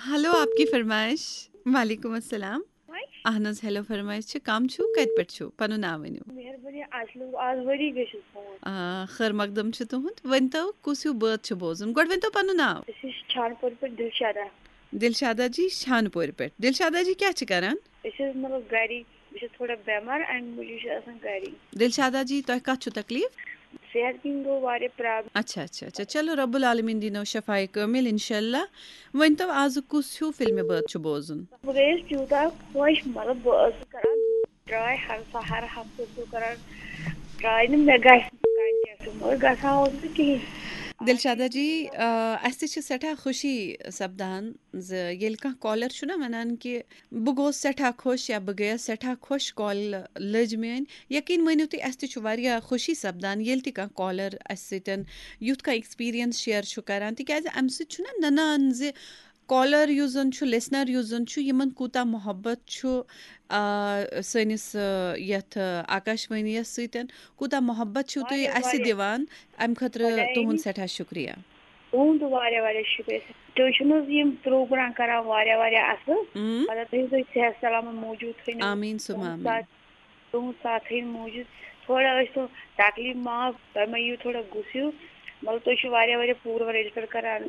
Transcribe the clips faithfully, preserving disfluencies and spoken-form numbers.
Hello, آپ کی فرمائش۔ وعلیکم السلام۔ اہن حظ، ہیلو، فرمائش چھِ۔ کم چھِو؟ کتہِ پٮ۪ٹھ چھِو؟ پنُن ناو ؤنِو۔ مہربٲنی، اَسہِ لوٚگ آز ؤری گٔژھِتھ فون۔ آ، خٲر مقدم چھُ تُہُنٛد۔ ؤنۍتو، کُس ہیوٗ بٲتھ چھُ بوزُن؟ گۄڈٕ ؤنۍتو پنُن ناو۔ أسۍ چھِ چھانپورِ پٮ۪ٹھ دِلشادا۔ دِلشادا جی، چھانپورِ پٮ۪ٹھ۔ دِلشادا جی کیٛاہ چھِ کران؟ أسۍ حظ مطلب گری، بہٕ چھَس تھوڑا بٮ۪مار، اَمہِ موٗجوٗب چھِ آسان گری۔ دِلشادا جی، تۄہہِ کَتھ چھُو تکلیٖف؟ صحت کِنۍ گوٚو واریاہ پرابلم۔ اچھا، اچھا، اچھا۔ چلو، رب العالمین دِنو شفاے کٲمِل، انشاءاللہ۔ ؤنۍتو، آزٕ کُس ہیوٗ فِلمہِ بٲتھ چھُ بوزُن؟ بہٕ گٔیَس تیوٗتاہ خۄش، مطلب، بہٕ ٲسٕس کران ٹراے ہر سا-، ہر ہفتہٕ ٲسٕس بہٕ کران ٹراے، نہٕ مےٚ گژھِ نہٕ کانٛہہ کینٛہہ، مگر گژھان اوس نہٕ کِہیٖنۍ۔ دِلشادا جی، آ، اَسہِ تہِ چھِ سٮ۪ٹھاہ خوشی سپدان زِ ییٚلہِ کانٛہہ کالر چھُنہ وَنان کہِ بہٕ گوس سٮ۪ٹھاہ خۄش یا بہٕ گٔیَس سٮ۪ٹھاہ خۄش، کال لٔج میٛٲنۍ۔ یقیٖن مٲنِو تُہۍ، اَسہِ تہِ چھُ واریاہ خوشی سپدان ییٚلہِ تہِ کانٛہہ کالر اَسہِ سۭتۍ یُتھ کانٛہہ ایکسپیٖرینس شیئر چھُ کران، تِکیٛازِ اَمہِ سۭتۍ چھُنہ نَنان زِ کالر یُس زَن چھُ، لسنر یُس زَن چھُ، یِمن کوٗتاہ محبت چھُ، آ، سٲنِس، آ، یَتھ، آ، آکاشوٲنی یَس سۭتۍ، کوٗتاہ محبت چھِو تُہۍ واریاہ، اَسہِ واریاہ۔ دِوان۔ اَمہِ خٲطرٕ خۄدایَن تُہُنٛد ہِنٛدۍ سٮ۪ٹھاہ شُکریہ۔ تُہُنٛد تہِ واریاہ واریاہ شُکریہ۔ تُہۍ چھِو نہٕ حظ یِم پروگرام کران واریاہ واریاہ اَصٕل؟ اۭں۔ مطلب، تُہۍ تھٲیِو صحت سلامت موٗجوٗد تھٲیِو۔ آمیٖن ثم تُہُنٛد آمیٖن۔ ساتھ، تُہُنٛد ساتھ تھٲیِو موٗجوٗد۔ تھوڑا ٲسۍ تو تکلیٖف معاف، تۄہہِ مہ یِیِو تھوڑا غُصہٕ ہیوٗ۔ مطلب، تُہۍ چھِو واریاہ واریاہ پوٗرٕ واریاہ رِلیٹڈ کران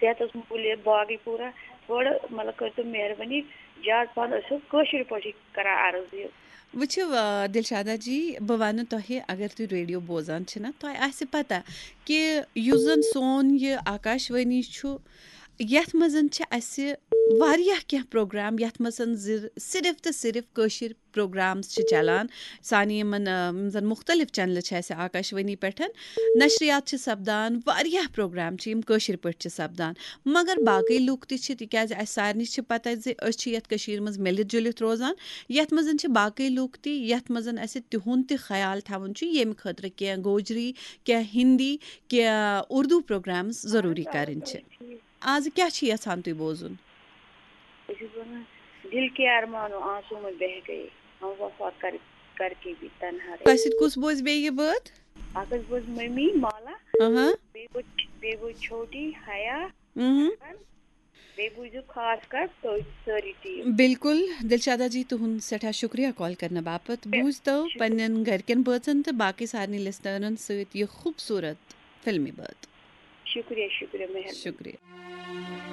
صحتَس مُتعلِق باقٕے پوٗرٕ۔ تھوڑا، مطلب، کٔرۍتو مہربٲنی، زیادٕ پَہَن ٲسِو کٲشِر پٲٹھی کران عرض یہِ۔ وٕچھِو، آ، دِلشادا جی، بہٕ وَنہٕ تۄہہِ، اگر تُہۍ ریڈیو بوزان چھِو نہ، تۄہہِ آسہِ پَتہ کہِ یُس زَن سون یہِ آکاشوٲنی چھُ، یَتھ منٛز چھِ اَسہِ واریاہ کینٛہہ پروگرام، یَتھ منٛز زِ-، صرف تہٕ صرف کٲشِر پروگرامز چھِ چلان۔ سانہِ یِمَن، آ، یِم زَن مُختلف چینلہٕ چھِ اَسہِ آکاشوٲنی پٮ۪ٹھ، نشریات چھِ سپدان، واریاہ پروگرام چھِ یِم کٲشِر پٲٹھۍ چھِ سپدان۔ مگر باقٕے لُکھ تہِ چھِ، تِکیٛازِ اَسہِ سارنٕے چھِ پَتہ زِ أسۍ چھِ یَتھ کٔشیٖرِ منٛز مِلِتھ جُلِتھ روزان، یَتھ منٛز چھِ باقٕے لُکھ تہِ، یَتھ منٛز اَسہِ تِہُنٛد تہِ خیال تھاوُن چھُ، ییٚمہِ خٲطرٕ کینٛہہ گوجری، کینٛہہ ہِندی، کینٛہہ اُردو پروگرامز ضروٗری اَہَن حظ، آ، کَرٕنۍ چھِ۔ ٹھیٖک۔ آز کیٛاہ چھِ یَژھان تُہۍ بوزُن؟ بہٕ چھَس وَنان، دِل کے ارمانو آنسو میں بہہ گئے، ہم وفا کر، کر کے بھی تنہا رہے۔ تۄہہِ سۭتۍ کُس بوزِ بیٚیہِ یہِ بٲتھ؟ اَکھ حظ بوزِ مٔمی مالا، اہاں۔ بیٚیہِ بوزِ، بیٚیہِ بوزِ چھوٹی حیا، اہاں۔ بیٚیہِ بوٗزِو خاص کر تُہۍ سٲری ٹیٖم۔ بِلکُل، دِلشادا جی، تُہُنٛد سٮ۪ٹھاہ شُکریہ کال کرنہٕ باپتھ۔ بوٗزتو شُکریہ۔ پننٮ۪ن گرِکٮ۪ن بٲژن تہٕ باقٕے سارنٕے لسنرن سۭتۍ یہِ خوٗبصوٗرت فِلمی بٲتھ۔ شُکریہ، شُکریہ، مہربٲنی۔ شُکریہ۔